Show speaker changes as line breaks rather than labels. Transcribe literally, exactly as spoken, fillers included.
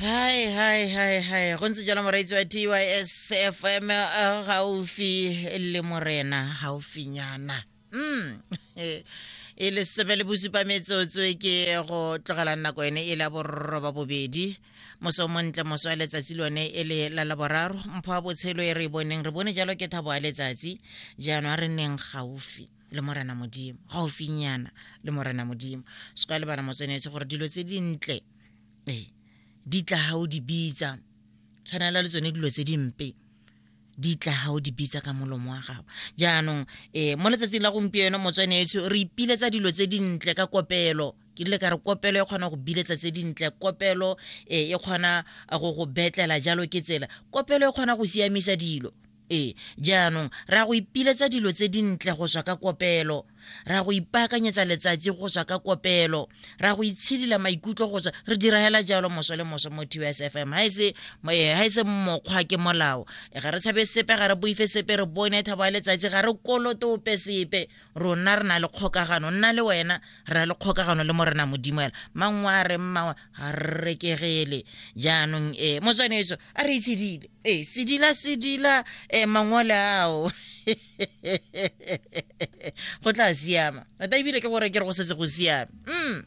Hai hai hai hai, go ntse jalo moreetsi wa T Y S F M, gaufi le morena, gaufinyana. Mm. E le sebe le bosupa metsotso ke go tlogela nako ene e la borroba bobedi. Moso montle, moso wa letsatsi lone e le la laboraro, mpho ya botshelo e re e boneng, re bone jalo ke thabo ya letsatsi. Jaanong a re nneng gaufi le morena Modimo, gaufinyana le morena Modimo. Se ka lebala motswanetse gore dilo tse dintle ee di tla ha o di bitsa, tshwanela le tsone dilo tse dimpe di tla ha o di bitsa ka molomo wa gago. Jaanong eh mo letsatsing la gompieno motswanetsho re ipiletsa dilo tse dintle ka kopelo. Ke ile ka re kopelo e kgona go biletsa tse dintle, kopelo e kgona go go betlela jalo ke tsela, kopelo e kgona go siamisa dilo. Ee, jaanong ra go ipiletsa dilo tse dintle go tswa ka kopelo, ra go ipaakanyetsa letsatsi go tswa ka kopelo, ra go itshidila maikutlo go tswa, re dira hela jalo moso le moso mo T Y S F M. Ha ese ha ese mokgwa ke molao, ga re tshabe sepe, ga re boife sepe, re bone thabo ya letsatsi, ga re kolote ope sepe. Rona re na le kgokagano, nna le wena re na le kgokagano le morena Modimo hela. Mangwe a re mmangwe ga re rekegele. Jaanong eh motswaneso a re itshidile, eh sedila sedila eh mangole ao go tla siama. Tota ebile ke gore ke re go setse go siame. Mm.